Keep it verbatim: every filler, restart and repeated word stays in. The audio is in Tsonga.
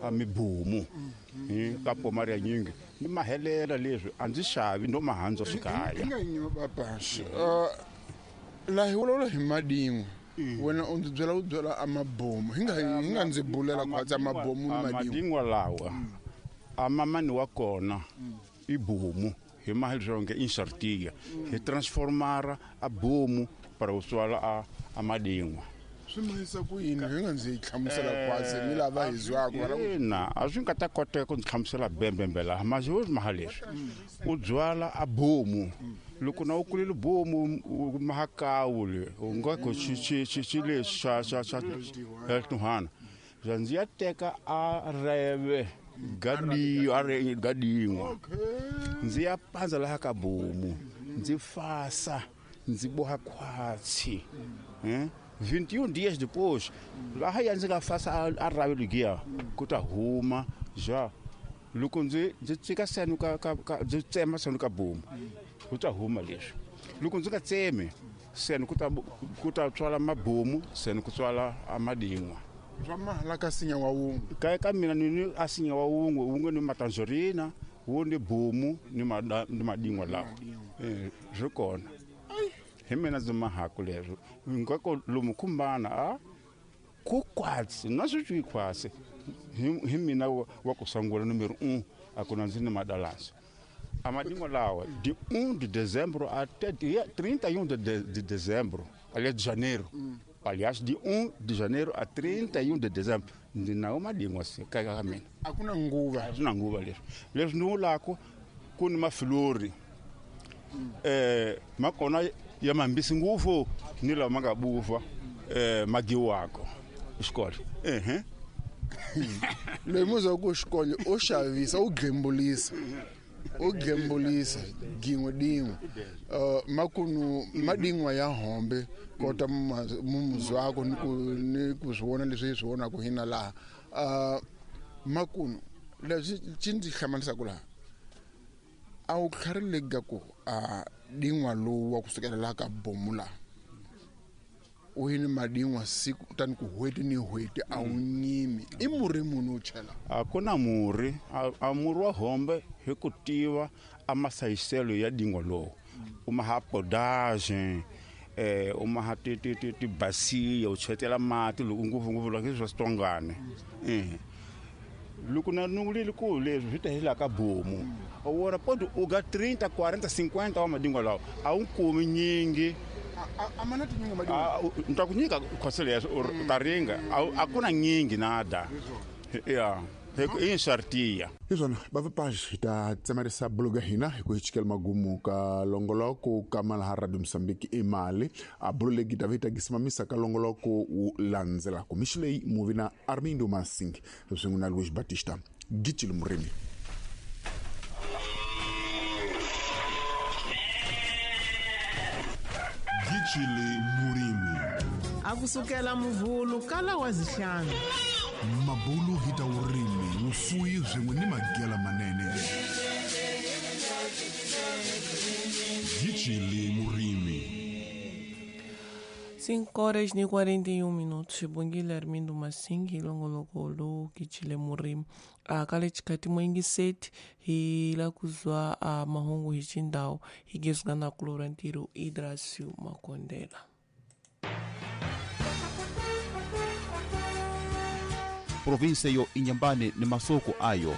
A mibomu ka pomaria nyingi ni mahelela leswi a ndzi xavi no mahandza swikaya nga nyiwa bapasha la hi vulavula hi madin'wa wena u ndzi byela u byela a mabomu hi nga hi nga ndzi bulela khwatsa mabomu ni madin'wa madin'wa lawa a mamani wa kona i bomu hi mahelo nge insartia hi transformara a bomu para u tswala a a madin'wa swi mahisa ku yini hi nga ndzi hlamusela khwatsi ni lava hi zwako ina a swi nga ta koteka ku ndzi hlamusela bembembe laha masi wo maha leswi u byala a bomu loko na u kulile bomu mahakawu le u nga ku xi xi xi xi lexi xa xa xa xa xa ndzi ya teka a reve gadi a re gadin'wa ndzi ya pandza laha ka bomu ndzi fasa ndzi boha khwatsi eh vinte e um dias depois laha ya ndzi nga fasa a rave ligiya ku ta huma ja loko ndzi ndzi tsika senu ka ka ndzi tsema senu ka bomu ku ta huma leswi loko ndzi nga tsemi senu ku ta ku ta tswala mabomu senu ku tswala amadin'wa swa mahala ka sinya wa wun'we ka ka mina ni ni a sinya wa wun'we wun'we ni matanzorina wu ni bomu ni ni madin'wa lawa eh swi kona hi mina ndzi mahaku leswo ngako lomu khumbana a ku kwatsi na swi twi khwatsi hi mina wa ku sungula numero um a ku na ndzi ni madalasi a madin'wa lawa de um de dezembro até dia trinta e um de, de dezembro aliás de janeiro aliás de um de janeiro a trinta e um de dezembro ndzi nawo madin'wa se ka ka mina a ku na nguva a swi na nguva leswi leswi ni vulaka ku ni mafilori eh makona ya mambisi ngopfu ni lawa ma nga buva eh magiwako xikolo ehe loyi muzwa ku xikolo o xavisa u gembulisa u gembulisa gin'we din'we uh, makunu madin'wa ya hombe kota mumuzwako ni ku ni ku swi vona leswi hi swi vonaka hina laha uh, makunu leswi xi ndzi hlamarisaka laha a wu tlharileka ku a din'wa lowu wa kusukela laha ka bomu laha u yini madin'wa siku kutani ku hweti ni hweti a wu nyimi i murhi munhu u chela a ku na murhi a murhi wa hombe hi ku tiva a masayiselo ya din'wa lowu u maha podage eh u maha ti ti ti ti basiya u chetela mati loko ngopfungopfu loko swa switongane eh loko na nungulile ku leswi swi ta hela ka bomu wona podi u ga trinta quarenta cinquenta wa madin'wa lawa a wu kumi nyingi a mana tinyingi madin'wa ni ta ku nyika khoselo ya u ta ringa a ku na nyingi nada ya i nsartiya hi swona vavapaji hi ta tsemarisa buluga hina hi ku hi chikela magumu ka longoloko ka malaha Radio Mozambique i mali a bulu legi ta vita gisimamisa ka longoloko wu landzelako mixi leyi muvi na Armindo Masing swin'we na Luis Batista Gitile Murimi. Gitile Murimi a kusukela muvhulu kala wa zihlanu mabulu hi ta vurimi vufuwi swin'we ni magela manene. Gitile Murimi. cinco horas e quarenta e um minutos. Bongile Armindo Masing hilongoloko Gitile Murimi akale chikati mwengi seti hila kuzwa a mahungu hichindao higezgana kulorantiro Idracio Makondela. Província yo Inhambane ni masoko ayo.